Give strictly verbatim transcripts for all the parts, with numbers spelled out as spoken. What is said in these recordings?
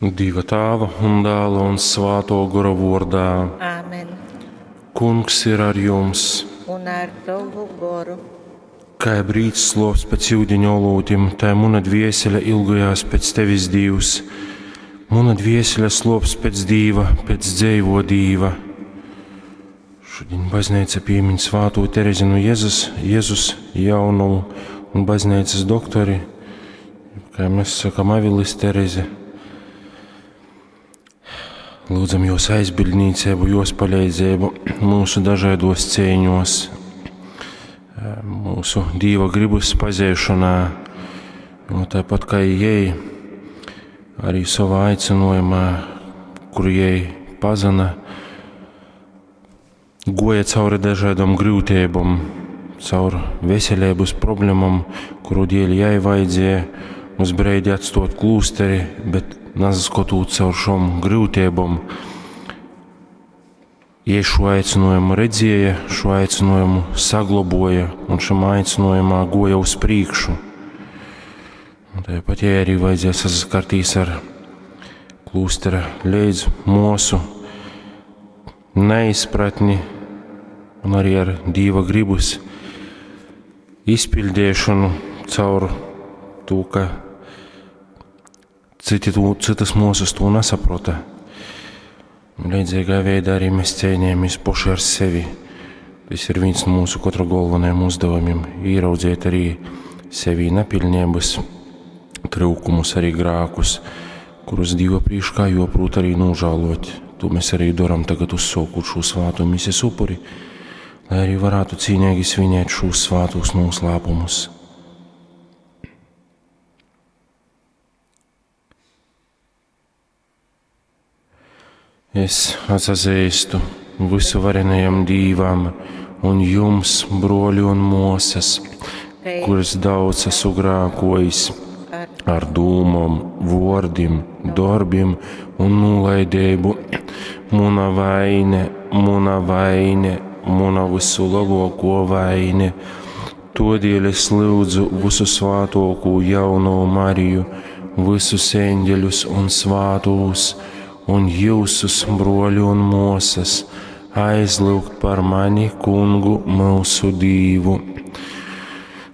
Dieva Tāva un Dāla un Svāto Gora vordā. Āmen. Kungs ir ar jums. Un ar tavu goru. Kā brīdis slops pēc ūdeņa olūtim, tā muna dviesele ilgojās pēc tevis, Dievs. Muna dviesele slops pēc Dīva, pēc dzeivo Dīva. Šodien baznīca piemin svāto Terezi no Jēzus, Jēzus jaunumu un baznīcas doktori, kā mēs sakam, Avilis Terezi. Lūdzam jos aizbildnīcību, jos palīdzību mūsu dažādos cīņos, mūsu Dīva gribas pazīšanā, jo tāpat kā jai, arī savā aicinājumā, kuru jai pazina, goja cauri dažādām grūtībām, caur veselības problēmām, kuru dēļ jai vajadzēja uz breidi atstot klūsteri, bet nasaskotot caur šom grūtībām, jai šo aicinājumu redzēja, šo aicinājumu saglaboja un šam aicinājumā goja uz priekšu. Un tāpat jai arī vajadzēja saskartīs ar klūstera leidz mūsu neizpratni un arī ar Dīva gribus izpildīšanu caur to, ka citi to, citas mūsas to nesaprota. Un līdzīgā veidā arī mēs cīnījāmies paši ar sevi. Tas ir viens no mūsu katra galvenajiem uzdevumiem - ieraudzīt arī sevī nepilnības, trūkumus, arī grēkus, kurus Dieva priekšā joprot arī nožēlot. To mēs arī darām tagad uzsākot šo svāto misijas upuri, lai arī varētu cīnīgi svinēt šos svātos noslēpumus. Es atzīstu visu varenajam Dīvam un jums, broļi un mosas, kuras daudz esmu grēkojis ar dūmom, vārdim, darbiem un nolaidību. Muna vaine, muna vaine, muna visu lielāko vaine. Todēļ es lūdzu visu svātoko jauno Mariju, visus eņģeļus un svātos, un jūsus, broļi un mosas, aizlūgt par mani, kungu, mūsu Dīvu.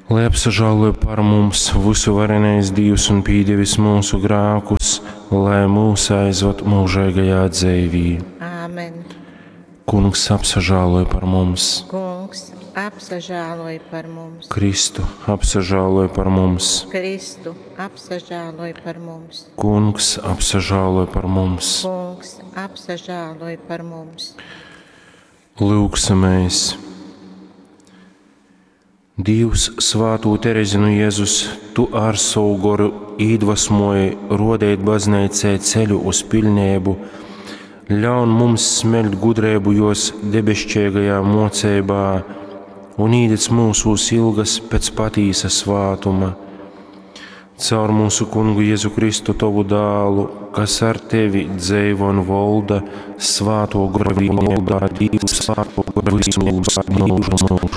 Lai apsažāloja par mums visu varenais Dievs un pīdevis mūsu grēkus, lai mūs aizvad mūžīgajā dzīvī. Āmen. Kungs apsažāloja par mums. Kungs, apsažāloj par mums. Kristu apsažāloja par mums. Kristu, apsažāloj par mums. Kungs apsažāloja par mums. Kungs, apsažāloj par mums. Lūksimies! Dievs, svātū Terezi no Jēzus, tu ar savu goru iedvesmoji rodēt baznīcai ceļu uz pilnību, ļaun mums smeļt gudrību jos debesšķīgajā mocībā un īdec mūsos ilgas pēc patīsa svātuma. Caur mūsu kungu Jēzu Kristu tavu dālu, kas ar tevi dzeivo un volda svāto goru vienībā, Dievs, svāto goru visu mūžu mūžu.